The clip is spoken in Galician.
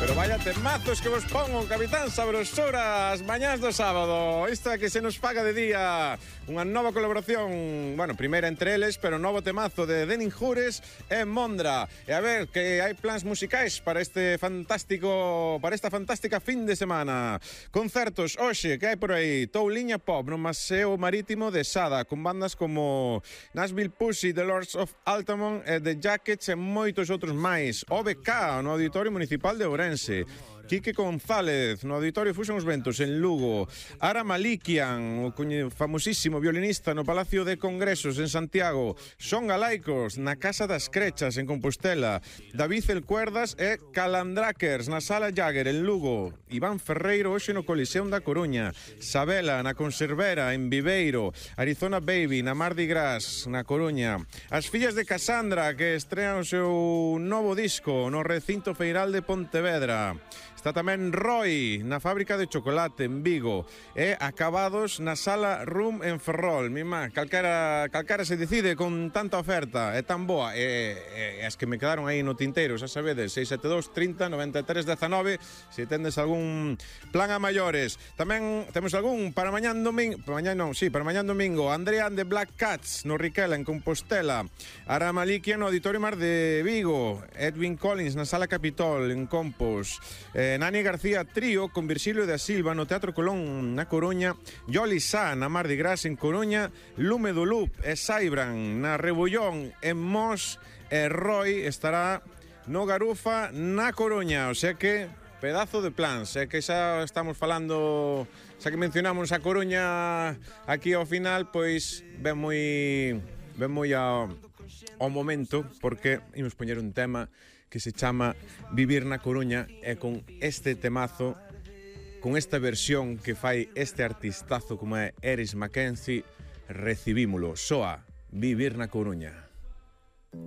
Pero vaya temazos que vos pongo, Capitán Sabrosura, as mañás do sábado. Esta que se nos paga de día. Unha nova colaboración, bueno, primeira entre eles, pero novo temazo de Denin Jures e Mondra. E a ver, que hai plans musicais para esta fantástica fin de semana. Concertos, hoxe, que hai por aí? Touliña Pop no Paseo Marítimo de Sada, con bandas como Nashville Pussy, The Lords of Altamont, The Jackets e moitos outros máis. OBK, no Auditorio Municipal de Ourense. Quique González, no Auditorio Fusion os Ventos, en Lugo. Ara Malikian, o famosísimo violinista no Palacio de Congresos, en Santiago. Son Galaicos, na Casa das Crechas, en Compostela. David El Cuerdas e Calandrakers, na Sala Jagger, en Lugo. Iván Ferreiro, hoxe no Coliseum da Coruña. Sabela, na Conservera, en Viveiro. Arizona Baby, na Mardi Gras, na Coruña. As fillas de Cassandra, que estrean o seu novo disco no Recinto Feiral de Pontevedra. Está tamén Roy, na Fábrica de Chocolate, en Vigo. E Acabados na Sala Room en Ferrol. Mima, calcara se decide con tanta oferta. É tan boa. E as que me quedaron aí no tinteiro, xa sabedes, 672 30 93 19, se tendes algún plan a maiores. Tamén temos algún para mañán domingo. Para mañán domingo. Andrea and the Black Cats, no Riquela, en Compostela. Ara Malikian, no Auditorio Mar de Vigo. Edwin Collins, na Sala Capitol, en Compos. Nani García Trío, con Virxilio da Silva, no Teatro Colón, na Coruña. Yoli Sá, na Mardi Gras, en Coruña. Lume do Loop e Saibran, na Rebullón, en Mos. E Roy estará no Garufa, na Coruña. O sea que, pedazo de plans. É que xa estamos falando, xa que mencionamos a Coruña aquí ao final, pois ven moi ao momento, porque imos poñer un tema que se chama Vivir na Coruña, e con este temazo, con esta versión que fai este artistazo como é Eris Mackenzie, recibímolo. Soa Vivir na Coruña.